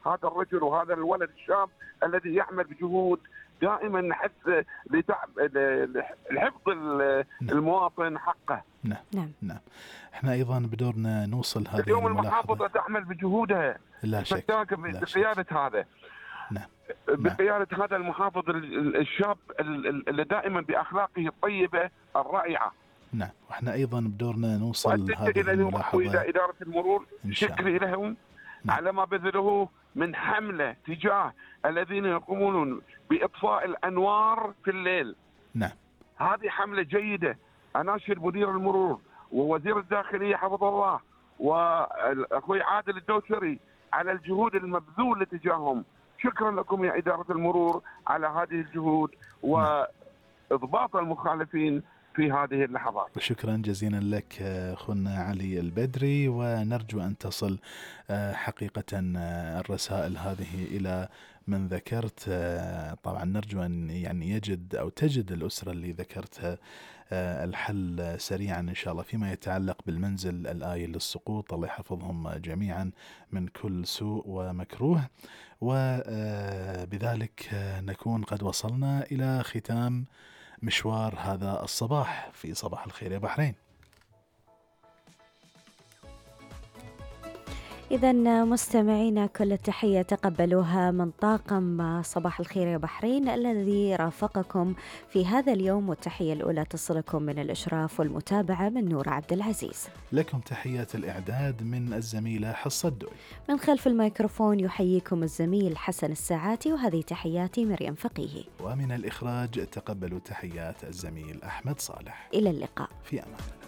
الله هذا الرجل وهذا الولد الشاب الذي يعمل بجهود دائما نحث لحفظ المواطن حقه. نعم. احنا ايضا بدورنا نوصل هذه اليوم الملاحظة. المحافظة تعمل بجهودها لا شك بقيادة هذا. نعم. بقيادة هذا المحافظ الشاب اللي دائما بأخلاقه الطيبة الرائعة. نعم. واحنا ايضا بدورنا نوصل هذه الملاحظة إلى إدارة المرور شكري لهم على ما بذلوه من حملة تجاه الذين يقومون بإطفاء الأنوار في الليل. نعم. هذه حملة جيدة. أناشد مدير المرور ووزير الداخلية حفظه الله وأخوي عادل الدوسري على الجهود المبذولة تجاههم. شكرا لكم يا إدارة المرور على هذه الجهود وإضباط المخالفين في هذه اللحظات. وشكرا جزيلا لك أخونا علي البدري، ونرجو أن تصل حقيقة الرسائل هذه إلى من ذكرت. طبعا نرجو أن يعني يجد أو تجد الأسرة اللي ذكرتها الحل سريعا إن شاء الله فيما يتعلق بالمنزل الآيل للسقوط. الله يحفظهم جميعا من كل سوء ومكروه. وبذلك نكون قد وصلنا إلى ختام مشوار هذا الصباح في صباح الخير يا بحرين. إذن مستمعينا كل التحية تقبلوها من طاقم صباح الخير يا بحرين الذي رافقكم في هذا اليوم، والتحية الأولى تصلكم من الإشراف والمتابعة من نور عبد العزيز. لكم تحيات الإعداد من الزميلة حصة الدوي. من خلف الميكروفون يحييكم الزميل حسن الساعاتي، وهذه تحياتي مريم فقيهي. ومن الإخراج تقبلوا تحيات الزميل أحمد صالح. إلى اللقاء في أمان الله.